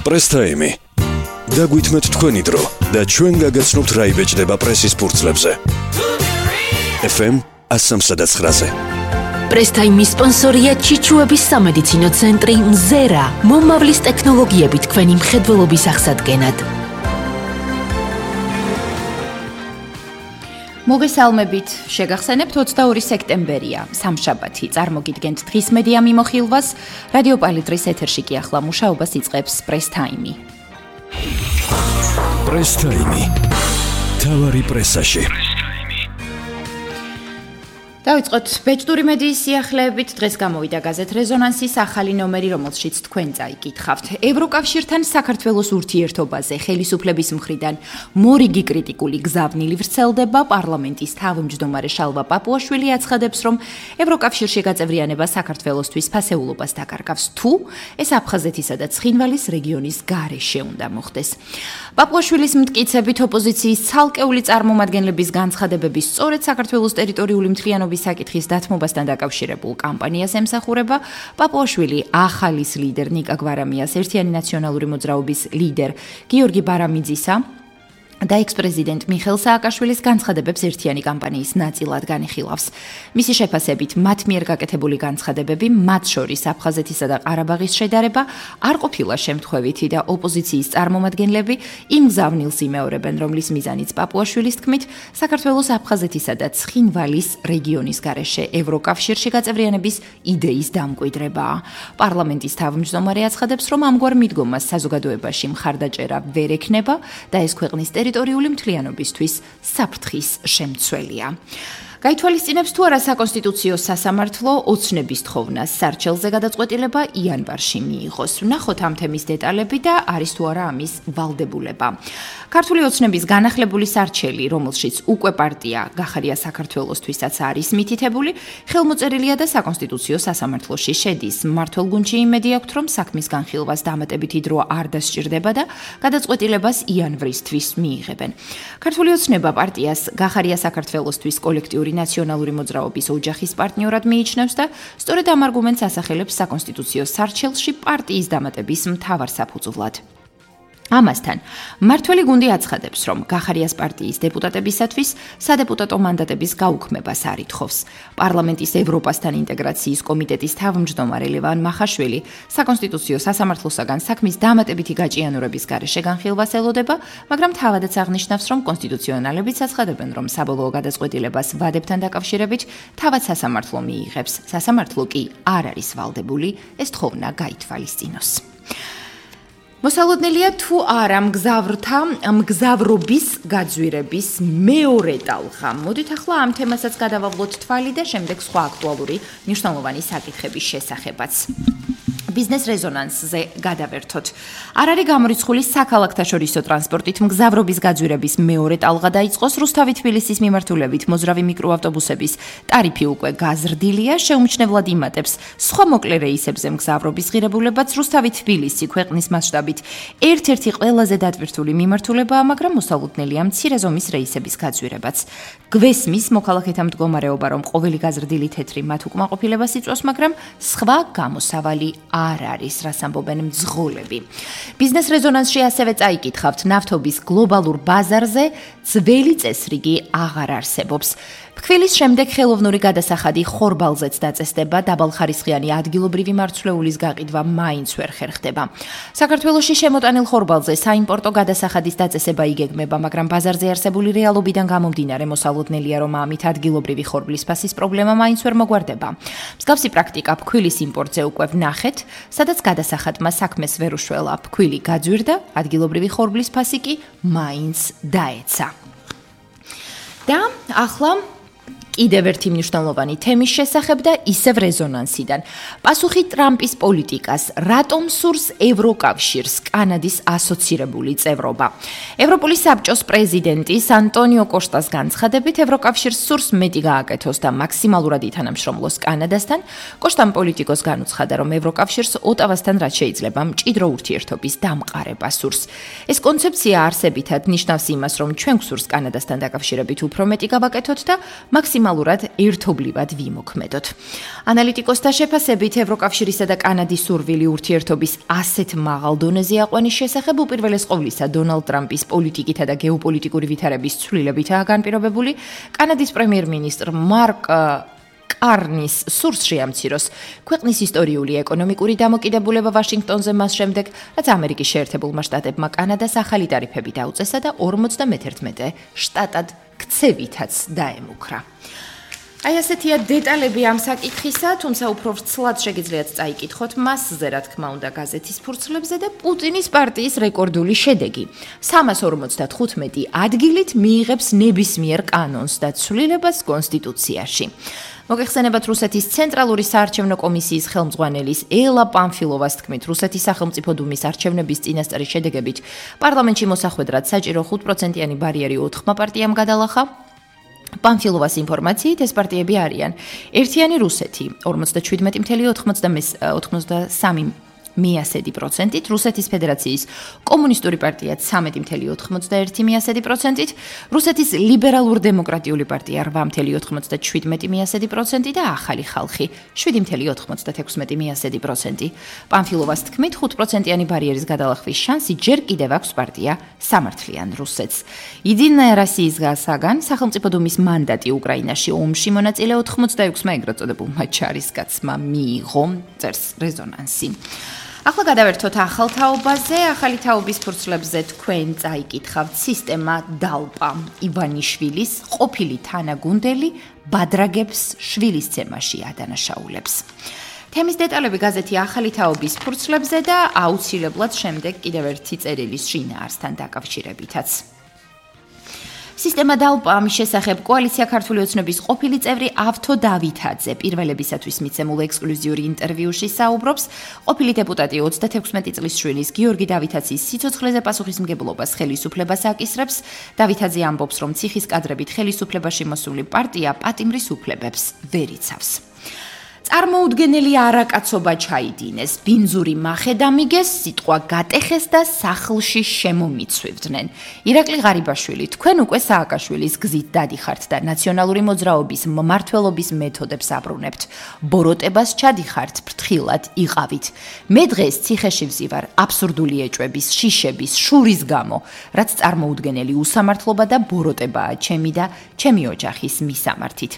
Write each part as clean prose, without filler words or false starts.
პრესთაიმი. დაგვითმეთ თქვენი დრო და ჩვენ გაგაცნობთ რა იბეჭდება პრესის ფურცლებზე. FM 103-ზე. პრესთაიმის სპონსორია ჩიჩუების სამედიცინო ცენტრი მზერა, მომავლის ტექნოლოგიებით თქვენი მხედველობის აღსადგენად. მოგესალმებით, შეგახსენებთ 22 სექტემბერია, სამშაბათი. წარმოგიდგენთ დღის მედია მიმოხილვას. რადიო პალიტრის ეთერში კი ახლა მუშაობას იწყებს პრესთაიმი. პრესთაიმი. თავარი პრესაში. დავიწყოთ ბეჭდური მედიის სიახლეებით. დღეს გამოვიდა გაზეთ რეზონანსის ახალი ნომერი, რომელშიც თქვენ წაიკითხავთ. ევროკავშირთან საქართველოს ურთიერთობაზე ხელისუფლების მხრიდან მორიგი კრიტიკული გზავნილი ვრცელდება. პარლამენტის თავმჯდომარე შალვა პაპუაშვილი აცხადებს, რომ ევროკავშირში გაწევრიანება საქართველოსთვის ფასეულობას დაკარგავს, თუ ეს აფხაზეთისა და ცხინვალის რეგიონის გარეშე უნდა მოხდეს. პაპუაშვილის მტკიცებით ოპოზიციის ცალკეული წარმომადგენლების განცხადებების სწორედ საქართველოს ტერიტორიული მთლიანობის საკითხის დათმობასთან დაკავშირებულ კამპანიას ემსახურება. პაპუაშვილი ახალის ლიდერ ნიკა გვარამიას, ერთიანი ნაციონალური მოძრაობის ლიდერ გიორგი ბარამიძისა და ექს-პრეზიდენტ მიხეილ სააკაშვილის განცხადებებს ერთიანი კამპანიის ნაწილად განიხილავს. მისი შეფასებით, მათ მიერ გაკეთებული განცხადებები, მათ შორის აფხაზეთისა და ყარაბაღის შედარება, არ ყოფილა შემთხვევითი და ოპოზიციის წარმომადგენლები იმ გზავნილს იმეორებენ, რომლის მიზანიც პაპუაშვილის თქმით, საქართველოს აფხაზეთისა და ცხინვალის რეგიონის გარეშე ევროკავშირში გაწევრიანების იდეის დამკვიდრებაა. პარლამენტის თავმჯდომარე აცხადებს, რომ ამგვარ მიდგომას საზოგადოებაში მხარდაჭერა ვერ ექნება და ეს ქვეყნის ტერიტორიული მთლიანობისთვის საფრთხის შემცველია. გაითვალისწინებს თუ არა საკონსტიტუციო სასამართლო ოცნების თხოვნას სარჩელზე გადაწყვეტილება იანვარში მიიღოს. ვნახოთ ამ თემის დეტალები და არის თუ არა ამის ვალდებულება. ქართული ოცნების განახლებული სარჩელი, რომელშიც უკვე პარტია გახარია საქართველოსთვისაც არის მითითებული, ხელმოწერილია და საკონსტიტუციო სასამართლოში შედის. მმართველ გუნდში იმედი აქვთ, რომ საქმის განხილვას დამატებითი დრო არ დასჭირდება და გადაწყვეტილებას იანვრისთვის მიიღებენ. ქართული ოცნება პარტიას გახარია საქართველოსთვის კოლექტიური ნაციონალური მოძრაობის ოჯახის პარტნიორად მიიჩნევს და სწორედ ამ არგუმენტს ასახელებს საკონსტიტუციო სარჩელში პარტიის დამატების მთავარ საფუძვლად. ამასთან, მმართველი გუნდი აცხადებს, რომ გახარიას პარტიის დეპუტატებისათვის სადეპუტატო მანდატების გაუქმებას არ ითხოვს. პარლამენტის ევროპასთან ინტეგრაციის კომიტეტის თავმჯდომარე ლევან მახაშვილი საკონსტიტუციო სასამართლოსაგან საქმის დამატებითი გაჭიანურების გარეშე განხილვას ელოდება, მაგრამ თავადაც აღნიშნავს, რომ კონსტიტუციონალებიც აცხადებენ, რომ საბოლოო გადაწყვეტილებას ვადებთან დაკავშირებით თავად სასამართლო მიიღებს. სასამართლო კი არ არის ვალდებული ეს თხოვნა გაითვალისწინოს. მოსალოდნელია თუ არა მგზავრობის გაძვირების მეორე ტალღა. მოდით ახლა ამ თემასაც გადავავლოთ თვალი და შემდეგ სხვა აქტუალური მნიშვნელოვანი საკითხების შესახებაც. ბიზნეს რეზონანსზე გადავერთოთ. არ არის გამორიცხული საქალაქთაშორისო ტრანსპორტით მგზავრობის გაძვირების მეორე ტალღა დაიწყოს. რუსთავი-თბილისის მიმართულებით მოძრავი მიკროავტობუსების ტარიფი უკვე გაზრდილია, შეუმჩნევლად იმატებს სხვა მოკლე რეისებზე მგზავრობის ღირებულებაც. რუსთავი-თბილისი ქვეყნის მასშტაბით ერთ-ერთი ყველაზე დატვირთული მიმართულებაა, მაგრამ მოსალოდნელია მცირე ზომის რეისების გაძვირებაც. გვესმის მოქალაქეთა მდგომარეობა, რომ ყოველი გაზრდილი თეთრი მათ უკმაყოფილებას იწვევს, მაგრამ სხვა გამოსავალი არ არის, რას ამბობენ მძღოლები. ბიზნეს რეზონანსში ასევე წაიკითხავთ, ნავთობის გლობალურ ბაზარზე ძველი წესრიგი აღარ არსებობს. ფქვილის შემდეგ ხელოვნური გადასახადი ხორბალზეც დაწესდება, დაბალხარისხიანი ადგილობრივი მარცვლეულის გაყიდვა მაინც ვერ ხერხდება. საქართველოში შემოტანილ ხორბალზე საიმპორტო გადასახადის დაწესება იგეგმება, მაგრამ ბაზარზე არსებული რეალობიდან გამომდინარე მოსალოდნელია, რომ ამით ადგილობრივი ხორბლის ფასის პრობლემა მაინც ვერ მოგვარდება. მსგავსი პრაქტიკა ფქვილის იმპორტზე უკვე ვნახეთ, სადაც გადასახადმა საქმეს ვერ უშველა. ფქვილი გაძვირდა, ადგილობრივი ხორბლის ფასი კი მაინც დაეცა. და ახლა კიდევ ერთი მნიშვნელოვანი თემის შესახებ და ისევ რეზონანსიდან. პასუხი ტრამპის პოლიტიკას, რატომ სურს ევროკავშირს კანადის ასოცირებული წევრობა. ევროპული საბჭოს პრეზიდენტის ანტონიო კოშტას განცხადებით, ევროკავშირს სურს მეტი გააკეთოს და მაქსიმალურად ითანამშრომლოს კანადასთან. კოშტამ პოლიტიკოს განუცხადა, რომ ევროკავშირს ოტავასთან რაც შეიძლება მჭიდრო ურთიერთობის დამყარება სურს. ეს კონცეფცია არსებითად ნიშნავს იმას, რომ ჩვენ გვსურს კანადასთან დაკავშირებით უფრო მეტი გავაკეთოთ და მაქსიმალურად მაქსიმალურად ერთობლივად ვიმოქმედოთ. ანალიტიკოსთა შეფასებით, ევროკავშირისა და კანადის სურვილი ურთიერთობის ასეთ მაღალ დონეზე აყვანის შესახებ უპირველეს ყოვლისა დონალდ ტრამპის პოლიტიკითა და გეოპოლიტიკური ვითარების ცვლილებითაა განპირობებული. კანადის პრემიერ-მინისტრ მარკ კარნის სურს შეამციროს ქვეყნის ისტორიული ეკონომიკური დამოკიდებულება ვაშინგტონზე მას შემდეგ, რაც ამერიკის შეერთებულმა შტატებმა კანადას ახალი ტარიფები დაუწესა და 51 შტატად ქცევითაც დაემუქრა. აი ასეთია დეტალები ამ საკითხისა, თუმცა უფრო ვრცლად შეგიძლიათ წაიკითხოთ მასზე, რა თქმა უნდა, გაზეთის ფურცლებზე და პუტინის პარტიის რეკორდული შედეგი. 355 ადგილით მიიღებს ნებისმიერ კანონს და ცვლილებას კონსტიტუციაში. მოგეხსენებათ რუსეთის ცენტრალური საარჩევნო კომისიის ხელმძღვანელის ელა პანფილოვას თქმით, რუსეთის სახელმწიფო დუმის არჩევნების წინასწარი შედეგებით პარლამენტში მოსახვედრად საჭირო 5%-იანი ბარიერი 4 პარტიამ გადალახა. პანფილოვას ინფორმაციით ეს პარტიები არიან: ერთიანი რუსეთი 47.83%, რუსეთის ფედერაციის კომუნისტური პარტია 13.91%, რუსეთის ლიბერალურ-დემოკრატიული პარტია 8.97% და ახალი ხალხი 7.96%. პანფილოვას თქმით, 5%-იანი ბარიერის გადალახვის შანსი ჯერ კიდევ აქვს პარტია სამართლიან რუსეთს. იდინა რასიისგან სახელმწიფო დუმის მანდატი უკრაინაში ომში მონაწილე 86-მა ეგრეთ წოდებულმა ჯარისკაცმა მიიღო, წერს რეზონანსი. ახლა გადავერთოთ ახალ თაობაზე. ახალი თაობის ფურცლებზე თქვენ წაიკითხავთ სისტემა დალპა ივანიშვილის ყოფილი თანაგუნდელი ბადრაგებს შვილისცემაში ადანაშაულებს. თემის დეტალები გაზეთი ახალი თაობის ფურცლებზე და აუცილებლად შემდეგ კიდევ ერთი წერილის შინაარსთან დაკავშირებითაც. სისტემა დალპა ამის შესახებ კოალიცია ქართული ოცნების ყოფილი წევრი ავთო დავითაძე პირველებისათვის მიცემულ ექსკლუზიური ინტერვიუში საუბრობს. ყოფილი დეპუტატი 36 წლის შვილის გიორგი დავითაძის სიცოცხლეზე პასუხისმგებლობას ხელისუფლებას აკისრებს. დავითაძე ამბობს, რომ ციხის კადრებით ხელისუფლებაში მოსული პარტია პატიმრის უფლებებს ვერ იცავს. წარმოუდგენელი არაკაცობა ჩაიდინეს, ბინძური მახე დამიგეს, სიტყვა გატეხეს და სახლში შემომიცვივდნენ. ირაკლი ღარიბაშვილი, თქვენ უკვე სააკაშვილის გზით დადიხართ და ნაციონალური მოძრაობის მმართველობის მეთოდებს აბრუნებთ. ბოროტებას ჩადიხართ, ფრთხილად იყავით. მე დღეს ციხეში ვზივარ აბსურდული ეჭვების, შიშების, შურის გამო, რაც წარმოუდგენელი უსამართლობა და ბოროტებაა ჩემი და ჩემი ოჯახის მისამართით.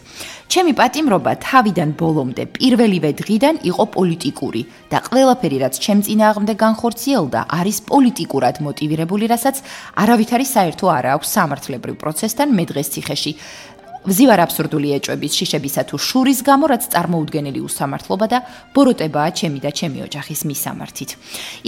ჩემი პატიმრობა თავიდან ბოლომდე პირველივე დღიდან იყო პოლიტიკური და ყველაფერი, რაც ჩემ წინააღმდეგ განხორციელდა, არის პოლიტიკურად მოტივირებული, რასაც არავითარი საერთო არ აქვს სამართლებრივ პროცესთან. მე დღეს ციხეში ვზივარ აბსურდული ეჭვების, შიშებისა თუ შურის გამო, რაც წარმოუდგენელი უსამართლობა და ბოროტებაა ჩემი და ჩემი ოჯახის მისამართით.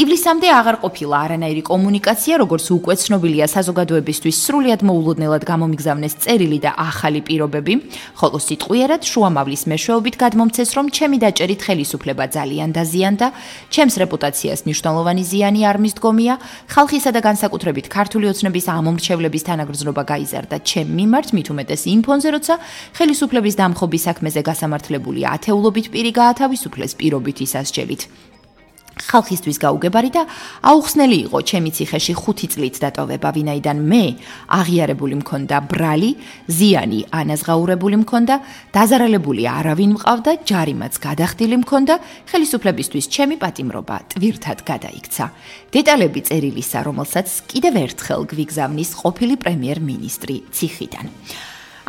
ივლისამდე აღარ ყოფილა არანაირი კომუნიკაცია, როგორც უკვე ცნობილია საზოგადოებისთვის სრულიად მოულოდნელად გამომიგზავნეს წერილი და ახალი პირობები, ხოლო სიტყვიერად შუამავლის მეშვეობით გადმომცეს, რომ ჩემი დაჭერით ხელისუფლება ძალიან დაზიანდა, ჩემს რეპუტაციას მნიშვნელოვანი ზიანი არ მისდგომია, ხალხისა და განსაკუთრებით ქართული ოცნების ამომრჩევლების თანაგრძნობა გაიზარდა ჩემ მიმართ, მით უმეტეს იმ ფონზე, როცა ხელისუფლების დამხობის საქმეზე გასამართლებული ათეულობით პირი გაათავისუფლეს პირობითი სასჯელით. ხალხისთვის გაუგებარი და აუხსნელი იყო ჩემი ციხეში 5 წლით დატოვება, ვინაიდან მე აღიარებული მქონდა ბრალი, ზიანი ანაზღაურებული მქონდა, დაზარალებული არავინ მყავდა, ჯარიმაც გადახდილი მქონდა, ხელისუფლებისთვის ჩემი პატიმრობა ტვირთად გადაიქცა. დეტალები წერილისა, რომელსაც კიდევ ერთხელ გვიგზავნის ყოფილი პრემიერ-მინისტრი ციხიდან.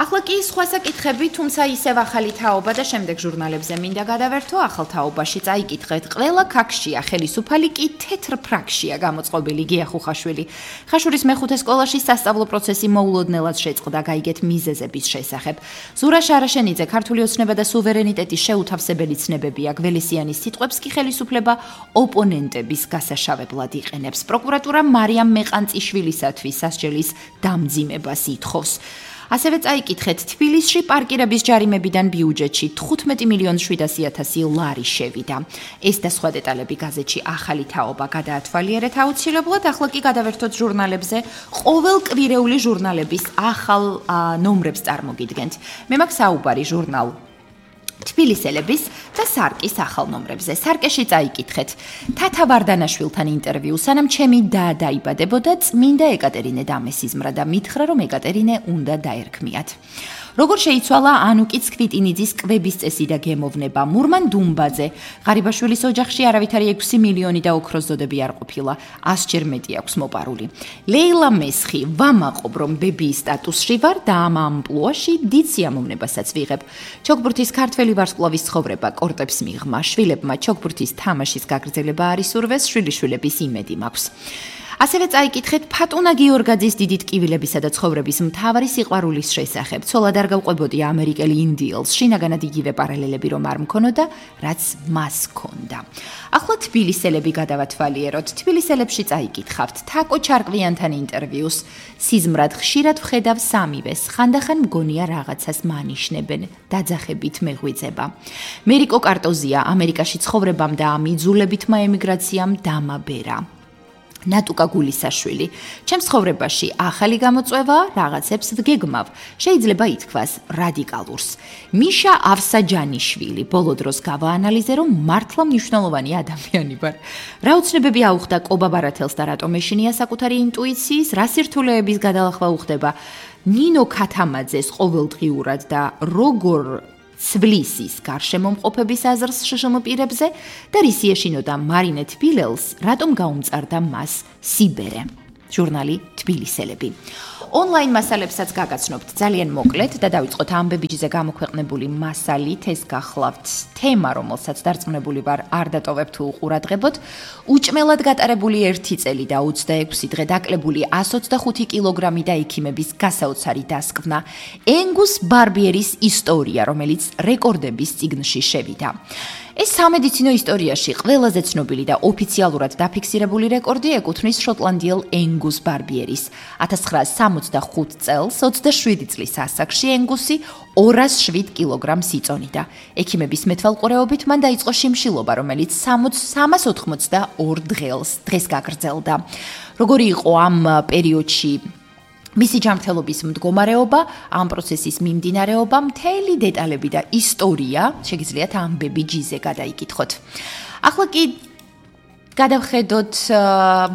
ახლა კი სხვა საკითხები, თუმცა ისევ ახალი თაობა და შემდეგ ჟურნალებზე მინდა გადავერთო. ახალ თაობაში წაიკითხეთ, ყველა ქაქშია, ხელისუფალი კი თეთრ ფრაქშია გამოწყობილი გია ხუხაშვილი. ხაშურის მეხუთე სკოლაში სასწავლო პროცესი მოულოდნელად შეწყდა, გაიგეთ მიზეზების შესახებ. ზურა შარაშენიძე, ქართული ოცნება და სუვერენიტეტის შეუთავსებელი ცნებებია, გველესიანის სიტყვებს კი ხელისუფლება ოპონენტების გასაშავებლად იყენებს. პროკურატურა მარიამ მეყანწიშვილისათვის სასჯელის დამძიმებას ითხოვს. ასევე წაიკითხეთ, თბილისში პარკირების ჯარიმებიდან ბიუჯეტში 15.700.000 ლარი შევიდა. ეს და სხვა დეტალები გაზეთში ახალი თაობა გადაათვალიერეთ აუცილებლად. ახლა კი გადავერთოთ ჟურნალებზე. ყოველკვირეული ჟურნალების ახალ ნომრებს წარმოგიდგენთ. მე მაქვს საუბარი ჟურნალ თბილისელების და სარკის ახალ ნომრებზე. სარკეში წაიკითხეთ. თათა ვარდანაშვილთან ინტერვიუ, სანამ ჩემი და დაიბადებოდა, წმინდა ეკატერინე დამესიზმრა და მითხრა, რომ ეკატერინე უნდა დაერქმიათ. როგორ შეიცვალა ანუკიც კვიტინიძის კვების წესი და გემოვნება, მურმან დუმბაძე, ღარიბაშვილის ოჯახში არავითარი 6 მილიონი და ოქროს ზოდები არ ყოფილა, 100-ჯერ მეტი აქვს მოპარული. ლეილა მესხი, ვამაყობ რომ ბებიის სტატუსში ვარ და ამ ამპლუაში დიდ სიამოვნებასაც ვიღებ. ჩოგბურთის ქართველი ვარსკვლავის ცხოვრება კორტებს მიღმა, შვილებმა ჩოგბურთის თამაშის გაგრძელება არ ისურვეს, შვილიშვილების იმედი მაქვს. ასევე წაიკითხეთ ფატუნა გიორგაძის დიდი ტკივილებისა და ცხოვრების მთავარი სიყვარულის შესახებ. ცოლად არ გავყვებოდი ამერიკელი ინდიელს, შინაგანად იგივე პარალელები რომ არ მქონოდა, რაც მას ჰქონდა. ახლა თბილისელები გადავათვალიეროთ. თბილისელებში წაიკითხავთ თაკო ჩარკვიანთან ინტერვიუს. სიზმრად ხშირად ვხედავ სამივეს, ხანდახან მგონია რაღაცას მანიშნებენ, დაძახებით მეღვიძება. მერიკო კარტოზია ამერიკაში ცხოვრებამ და ამ იძულებითმა ემიგრაციამ დამაბერა. ნატუკა გულისაშვილი, ჩემს ცხოვრებაში ახალი გამოწვევა, რაღაცებს ვგეგმავ, შეიძლება ითქვას რადიკალურს. მიშა ავსაჯანიშვილი, ბოლო დროს გავაანალიზე, რომ მართლა მნიშვნელოვანი ადამიანი ვარ. რა უცნებები აუხდა კობა ბარათელს და რატომ ეშინია საკუთარი ინტუიციის, რა სირთულეების გადალახვა უხდება ნინო ქათამაძეს ყოველდღიურად და როგორ ცვლისის გარშემომყოფების აზრს შშმ პირებზე და რისი ეშინოდა მარინე თბილელს, რატომ გაუმწარდა მას სიბერე. ჟურნალი თბილისელები. ონლაინ მასალებსაც გაგაცნობთ ძალიან მოკლედ და დავიწყოთ ამბებიჯზე გამოქვეყნებული მასალით. ეს გახლავთ თემა, რომელსაც დარწმუნებული ვარ არ დატოვებ თუ უყურადღებოთ. უჭმელად გატარებული 1 წელი და 26 დღე დაკლებული 125 კილოგრამი და ექიმების გასაოცარი დასკვნა. ენგუს ბარბიერის ისტორია, რომელიც რეკორდების წიგნში შევიდა. ეს სამედიცინო ისტორიაში ყველაზე ცნობილი და ოფიციალურად დაფიქსირებული რეკორდი ეკუთვნის შოტლანდიელ ენგუს ბარბიერის. 1965 წელს 27 წლის ასაკში ენგუსი 207 კილოგრამს იწონიდა. ექიმების მეთვალყურეობით მან დაიწყო შიმშილობა, რომელიც 382 დღეს გაგრძელდა. როგორი იყო ამ პერიოდში მისი ჯანმრთელობის მდგომარეობა, ამ პროცესის მიმდინარეობა, მთელი დეტალები და ისტორია შეგიძლიათ ამბები ჯიზე გადაიკითხოთ. ახლა კი გადავხედოთ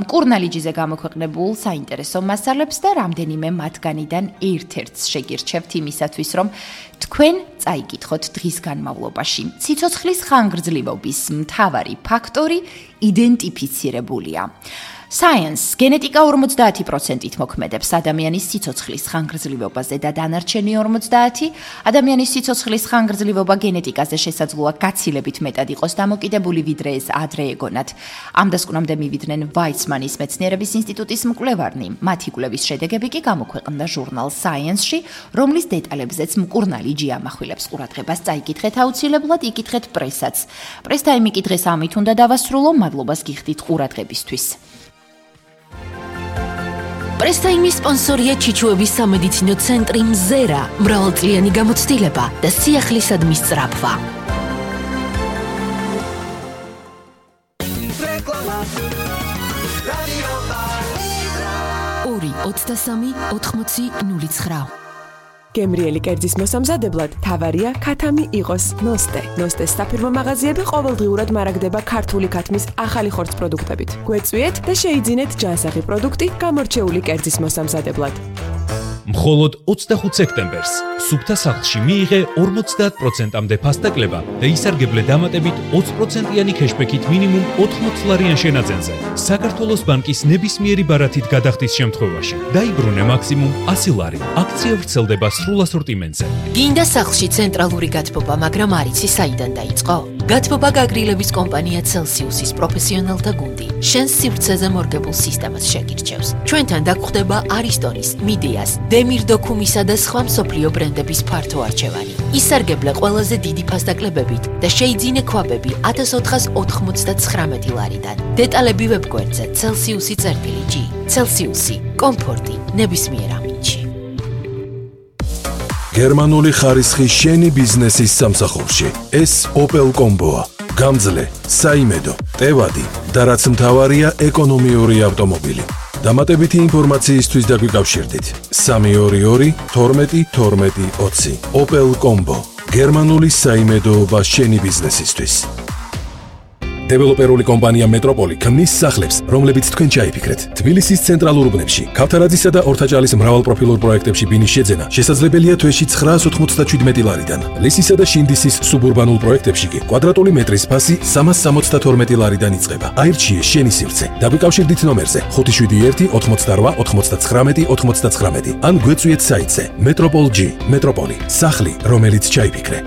მკურნალი ჯიზე გამოქვეყნებულ საინტერესო მასალებს და რამდენიმე მათგანიდან ერთ-ერთს შეგირჩევთ იმისათვის, რომ თქვენ წაიკითხოთ დღის განმავლობაში. ციცოცხლის ხანგრძლივობის მთავარი ფაქტორი იდენტიფიცირებულია. Science, გენეტიკა 50%-ით მოქმედებს ადამიანის სიცოცხლის ხანგრძლივობაზე და დანარჩენი 50% ადამიანის სიცოცხლის ხანგრძლივობა გენეტიკაზე შესაძლოა გაცილებით მეტად იყოს დამოკიდებული, ვიდრე ეს ადრე ეგონათ. ამ დასკვნამდე მივიდნენ ვაიცმანის მეცნიერების ინსტიტუტის მკვლევარნი. მათი კვლევის შედეგები კი გამოქვეყნდა ჟურნალ Science-ში, რომლის დეტალებზეც მკურნალი ჯი ამახვილებს ყურადღებას. წაიკითხეთ აუცილებლად, იკითხეთ პრესაც. პრესტაიმი კი დღეს ამით უნდა დავასრულო, მადლობას გიხდით ყურადღებისთვის. პრესტაიმის სპონსორია ჩიჩუების სამედიცინო ცენტრი მზერა, მრავალწლიანი გამოცდილება და სიახლისადმი სწრაფვა. ორი 23 80 09. გემრიელი კერძის მოსამზადებლად თავარია ქათამი იყოს ნოსტე. ნოსტეს საფირმო მაღაზიები ყოველდღიურად მარაგდება ქართული ქათმის ახალი ხორცს პროდუქტებით. გვეწვიეთ და შეიძინეთ ჯანსაღი პროდუქტი გამორჩეული კერძის მოსამზადებლად. მხოლოდ 25 სექტემბერს სუფთა სახლში მიიღე 50%-მდე ფასტაკლება და ისარგებლე დამატებით 20%-იანი ქეშბექით მინიმუმ 80 ლარიან შენაძენზე. საქართველოს ბანკის ნებისმიერი ბარათით გადახდის შემთხვევაში დაიბრუნე მაქსიმუმ 100 ლარი. აქცია ვრცელდება სრულ ასორტიმენტზე. გინდა სახლში ცენტრალური გათბობა, მაგრამ არ იცი საიდან დაიწყო? გათბობა გაგრილების კომპანია Celsius-ის პროფესიონალთა გუნდი. შენს სივრცეზე მორგებულ სისტემას შეგირჩევს. ჩვენთან დაგხვდება არისტონის, მიდეას, დემირდოქუმისა და სხვა მსოფლიო ბრენდების ფართო არჩევანი. ისარგებლე ყველაზე დიდი ფასტაკლებებით და შეიძინე ქვაბები 1499 ლარიდან. დეტალები ვებგვერდზე Celsius-G. Celsius-ი, კომფორტი, ნებისმიერ ამინდში. გერმანული ხარისხი შენი ბიზნესის სამსახურში. ეს Opel Combo-ა. გამძლე, საიმედო, ტევადი და რაც მთავარია ეკონომიური ავტომობილი. დამატებითი ინფორმაციისთვის დაგვიკავშირდით 322 12 12 20. Opel Combo. გერმანული საიმედოობა შენი ბიზნესისთვის. დეველოპერული კომპანია მეტროპოლი ქმნის სახლებს, რომლებიც თქვენ ჩაიფიქრეთ. თბილისის ცენტრალურ უბნებში, ქავთარაძისა და ორთაჭალის მრავალპროფილურ პროექტებში ბინის შეძენა შესაძლებელია თვეში 997 ლარიდან. ლისისა და შინდისის სუბურბანულ პროექტებში კი კვადრატული მეტრის ფასი 372 ლარიდან იწყება. აირჩიე შენი სივრცე. დაგვიკავშირდით ნომერზე 571 88 99 99 ან გვეწვიეთ საიტზე Metropol.G. მეტროპოლი, სახლი, რომელიც ჩაიფიქრე.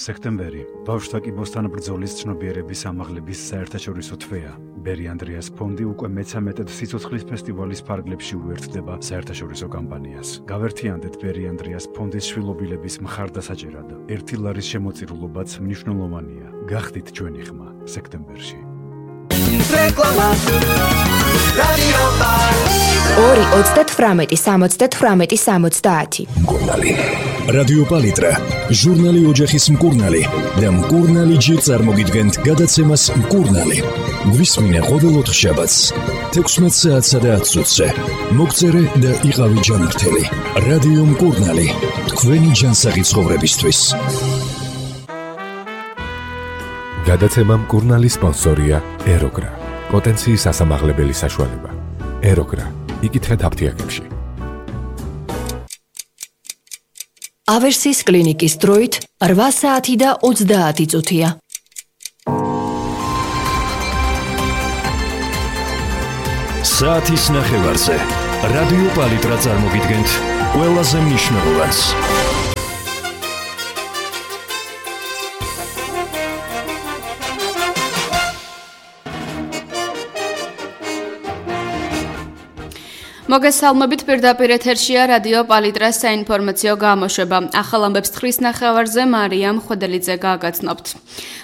სექტემბერი ბავშვთა კიბოსთან ბრძოლის ცნობიერების ამაღლების საერთაშორისო თვეა. ბერი ანდრიას ფონდი უკვე მე-13 სიცოცხლის ფესტივალის ფარგლებში უერთდება საერთაშორისო კამპანიას. გავერთიანდეთ ბერი ანდრიას ფონდის შვილობილების მხარდასაჭერად. 1 ლარის შემოწირულობაც მნიშვნელოვანია. გახდით ჩვენი ხმა სექტემბერში. რეკლამა რადიო 2-38-70-70. მკურნალი რადიო პალიტრა ჟურნალი ოჯახის მკურნალი და მკურნალი ჯი წარმოგიდგენთ გადაცემას მკურნალი. გვისმინე ყოველ ოთხშაბათს 16 საათსა და 10 წუთზე. მოგწერე და იყავი ჯანმრთელი. რადიო მკურნალი, თქვენი ჯანსაღი ცხოვრებისთვის. გადაცემა მკურნალი სპონსორია ეროგრა. პოტენციის ასამაღლებელი საშუალება. ეროგრა. იკითხეთ აფთიაქებში. ავერსის კლინიკის დროით 8 საათი და 30 წუთია. საათის ნახევარზე რადიო პალიტრა წარმოგიდგენთ ყველაზე მნიშვნელოვანს. მოგესალმებით, პირდაპირ ეთერშია რადიო პალიტრას საინფორმაციო გამოშვება. ახალ ამბებს 9 ნახევარზე მარიამ ხვედელიძე გააგაცნობთ.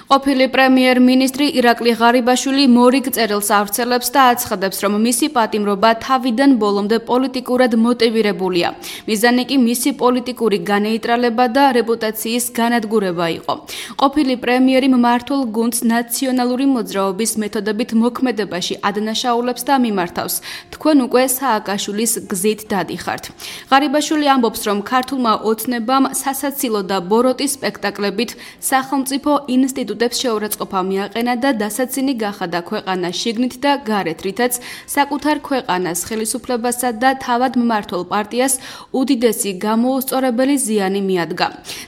ყოფილი პრემიერ-მინისტრი ირაკლი ღარიბაშვილი მორიგ წერილს ავრცელებს და აცხადებს, რომ მისი პატიმრობა თავიდან ბოლომდე პოლიტიკურად მოტივირებულია. მიზანი კი მისი პოლიტიკური განეიტრალება და რეპუტაციის განადგურება იყო. ყოფილი პრემიერი მმართველ გუნდს ნაციონალური მოძრაობის მეთოდებით მოქმედებაში ადანაშაულებს და მიმართავს. თქვენ უკვე სააკაშვილის გზით დადიხართ. ღარიბაშვილი ამბობს, რომ ქართულმა ოცნებამ სასაცილო და ბოროტის სპექტაკლებით სახელმწიფო ინსტიტუტებს შეურაცხყოფა მიაყენა და დასაცინი გახადა ქვეყანა შიგნით და გარეთ, რითაც საკუთარ ქვეყანას ხელისუფლებასა და თავად მმართველ პარტიას უდიდესი გამოუსწორებელი ზიანი მიადგა.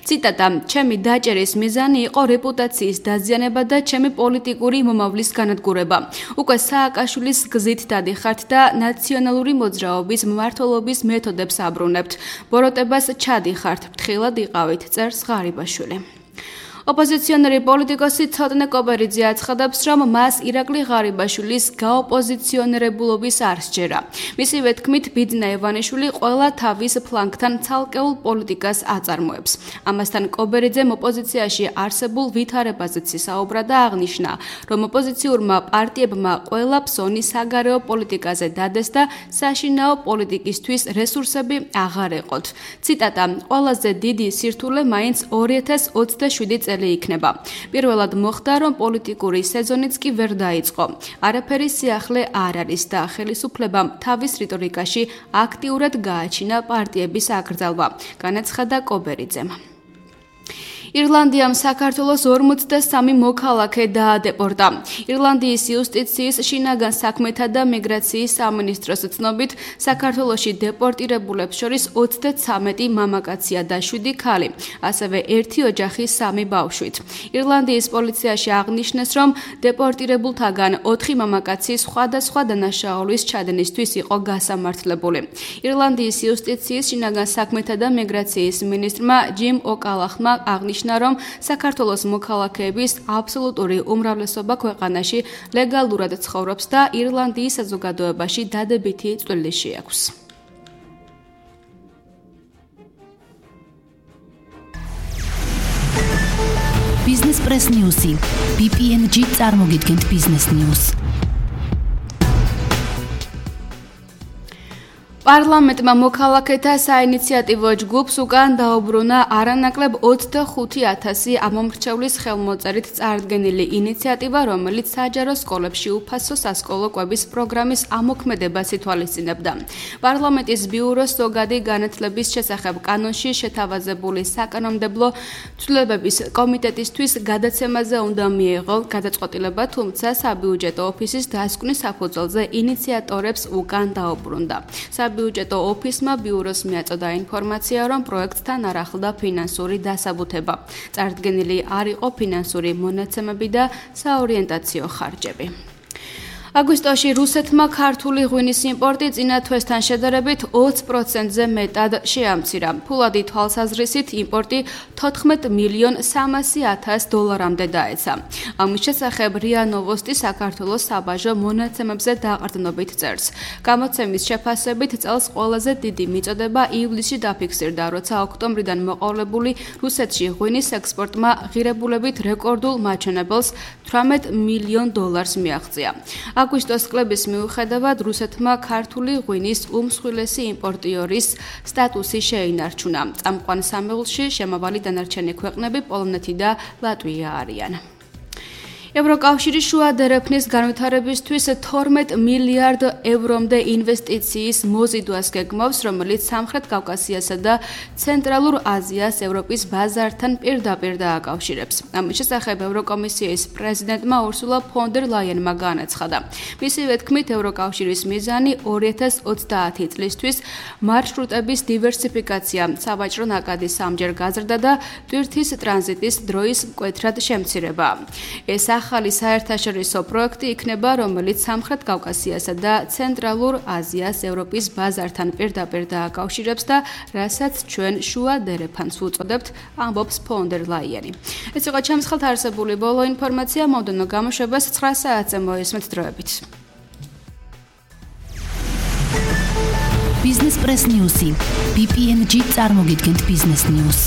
ციტატა: ჩემი დაჭერის მიზანი იყო რეპუტაციის დაზიანება და ჩემი პოლიტიკური მომავლის განადგურება. უკვე სააკაშვილის გზით დადიხართ და ნაციონალური მოძრაობის მმართველობის მეთოდებს აბრუნებთ. ბოროტებას ჩადიხართ, ფრთხილად იყავით, წერს ღარიბაშვილი. ოპოზიციონერი პოლიტიკოსი ცოტნე კობერიძე აცხადებს, რომ მას ირაკლი ღარიბაშვილის გაოპოზიციონერებულობის არ სჯერა. მისივე თქმით, ბიძინა ივანიშვილი ყველა თავის ფლანგთან ცალკეულ პოლიტიკას აწარმოებს. ამასთან კობერიძემ ოპოზიციაში არსებულ ვითარებაზეც ისაუბრა და აღნიშნა, რომ ოპოზიციურმა პარტიებმა ყველა ფსონი საგარეო პოლიტიკაზე დადეს და საშინაო პოლიტიკისთვის რესურსები აღარ ეყოთ. ციტატა: ყველაზე დიდი სირთულე მაინც 2027 წელი იქნება. პირველად მოხდა, რომ პოლიტიკური სეზონიც კი ვერ დაიწყო. არაფერი სიახლე არ არის და ხელისუფლებამ თავის რიტორიკაში აქტიურად გააჩინა პარტიების აკრძალვა, განაცხადა კობერიძემ. ირლანდიამ საქართველოს 43 მოქალაქე დაადეპორტა. ირლანდიის იუსტიციის შინაგან საქმეთა და მიგრაციის სამინისტროს ცნობით, საქართველოში დეპორტირებულებს შორის 33 მამაკაცია და 7 ქალი, ასევე 1 ოჯახი 3 ბავშვით. ირლანდიის პოლიციაში აღნიშნეს, რომ დეპორტირებულთაგან 4 მამაკაცი სხვადასხვა დანაშაულის ჩადენისთვის იყო გასამართლებული. ირლანდიის იუსტიციის შინაგან საქმეთა და მიგრაციის მინისტრმა ჯიმ ოკალახმა აღნიშნა, რომ საქართველოს მოქალაქეების აბსოლუტური უმრავლესობა ქვეყანაში ლეგალურად ცხოვრობს და ირლანდიის საზოგადოებაში დადებითი წვლილი შეაქვს. Business Press News-ი BPNG წარმოგიდგენთ Business News. პარლამენტმა მოქალაქეთა საინიციატივო ჯგუფს უკან დაუბრუნა არანაკლებ 25,000 ამომრჩევლის ხელმოწერით წარდგენილი ინიციატივა, რომელიც საჯარო სკოლებში უფასო სასკოლო კვების პროგრამის ამოქმედებას ითვალისწინებდა. პარლამენტის ბიუროს ზოგადი განათლების შესახებ კანონში შეთავაზებული საკანონმდებლო ცვლილებების კომიტეტისთვის გადაცემაზე უნდა მიეღო გადაწყვეტილება, თუმცა საბიუჯეტო ოფისის დასკვნის საფუძველზე ინიციატორებს უკან დაუბრუნდა. საბიუჯეტო ოფისმა ბიუროს მიაწოდა ინფორმაცია, რომ პროექტთან არ ახლდა ფინანსური დასაბუთება. წარდგენილი არ იყო ფინანსური მონაცემები და საორიენტაციო ხარჯები. აგვისტოში რუსეთმა ქართული ღვინის იმპორტი წინა თვესთან შედარებით 20%-ზე მეტად შეამცირა. ფულადი თვალსაზრისით იმპორტი 14,300,000 დოლარამდე დაეცა. ამის შესახებ RIA Novosti საქართველოს საბაჟო მონაცემებზე დაყრდნობით წერს. გამოცემის შეფასებით წელს ყველაზე დიდი მიწოდება ივლისში დაფიქსირდა, როცა ოქტომბრიდან მოყოლებული რუსეთში ღვინის ექსპორტმა ღირებულებით რეკორდულ მაჩვენებელს $18 მილიონ მიაღწია. აგვისტოს კლების მიუხედავად რუსეთმა ქართული ღვინის უმსხვილესი იმპორტიორის სტატუსი შეინარჩუნა. წამყვან სამეულში შემავალი დანარჩენი ქვეყნები პოლონეთი და ლატვია არიან. ევროკავშირი შუა დერეფნის განვითარებისთვის 12 მილიარდ ევრომდე ინვესტიციის მოზიდვას გეგმავს, რომელიც სამხრეთ კავკასიასა და ცენტრალურ აზიას ევროპის ბაზართან პირდაპირ დააკავშირებს. ამის შესახებ ევროკომისიის პრეზიდენტმა ურსულა ფონ დერ ლაიენმა განაცხადა. მისივე თქმით, ევროკავშირის მიზანი 2030 წლისთვის მარშრუტების დივერსიფიკაცია, სავაჭრო ნაკადის სამჯერ გაზრდა და ტვირთის ტრანზიტის დროის მკვეთრად შემცირება. ეს ახალი საერთაშორისო პროექტი იქნება, რომელიც სამხრეთ კავკასიასა და ცენტრალურ აზიას ევროპის ბაზართან პირდაპირ დააკავშირებს და რასაც ჩვენ შუა დერეფანს ვუწოდებთ, ამბობს ფონ დერ ლაიენი. ეს იყო ჩემს ხელთ არსებული ბოლო ინფორმაცია, მომდევნო გამოშვებას 9 საათზე მოესმით დროებით. Business Press News-ი BPNG წარმოგიდგენთ Business News.